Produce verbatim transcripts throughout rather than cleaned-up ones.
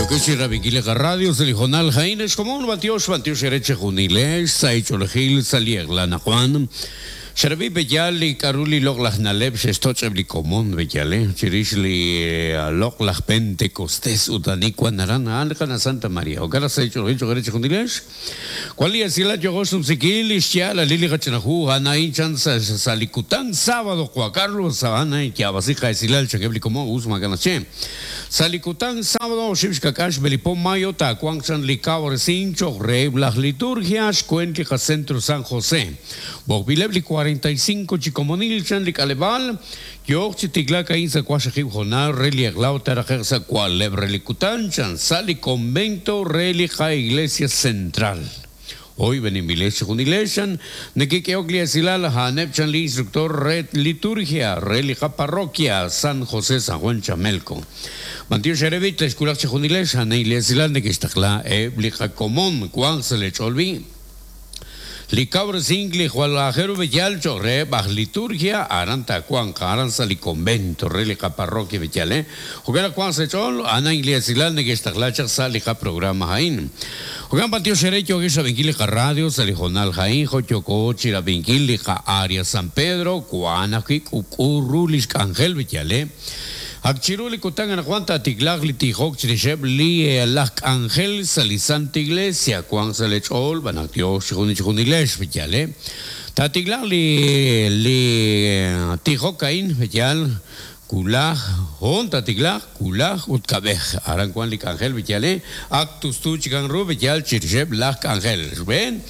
Yokeshi Rabikile Radio, Selijonal Jaén, es como un batiosh, batiosh ereche junilesh, saicholejil, saliegla Juan. Xerabi beyal li karuli lok laj naleb xestoch ebli komon beyale, chirish li lok laj Pentecostés utani kuanaran alkana Santa María. Okara saicholejil chogereche junilesh. Cual y así la yogos umsikil, ishya la lili gachanahu, anain chan salikután, sábado, Juan Carlos, Sabana, y Yabasija, Esilal, Chakebli como Usma Ganache. Salikután, sábado, Shibshkakash, Belipón Mayo, Tacuanchan, Licabor, Cincho, Rey, las liturgias, Cuentica, Centro San José. Bogbilebli cuarenta y cinco, Chicomonil, Chanlik Alebal, Yoch, Tiglaka, Insa, Cuashajib, Jonar, Relia, Glauta, Rajersa, Cualeb, Relicután, Chan, Sali, Convento, Relija, Iglesia Central. Hoy venimos con Iglesia, Nequique Silal, Hanep Chanli, instructor Red Liturgia, Relija Parroquia, San José, San Juan Chamelco. Mantio Xerevit, Esculach Junilesh, Haneilesilal, Nequistacla, Eblija Comón, Juan Selecholvi. Licabre Singli, Juan Bellal, Chorre, Baj Liturgia, Aranta Juan, Aranza, Li Convento, Relica Parroquia Bellal, Jugar Juan Sechol, Ana Iglesias, Neguestaclacha, Salija Programa Jaín. Jugan Patio Xerecho, Guisa Vinquilica Radio, Salijonal Jaín, Jochoco, Chiravinquilica, Área San Pedro, Cuanaji, Cucurrulis, Ángel Bellal, Akchiruli kutangan Juan Tiglagli Tijok Chirisheb Li Lak Ángel Salisanta Iglesia Juan Salech Ol Banatio Shikunilesh Villale Tatiglagli Li Tijokain Villal Kulaj Hon Tatiglag Kulaj Utkabej Aran Juan Lik Ángel Villale Actus Tuchikan Ru Villal Chirisheb Lak Ángel Ven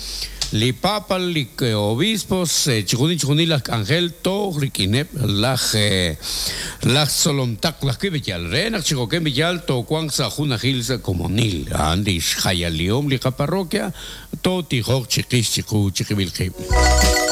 Li papa, li obispos, chikuni chikuni laj ángel, to rikinep laj laj solomtak laj kibiyal, renak chikokem biyal, to kuang sa junajil sa komonil, andi xayaliom li parroquia, to tijok chiquis chiku chiquibilqib.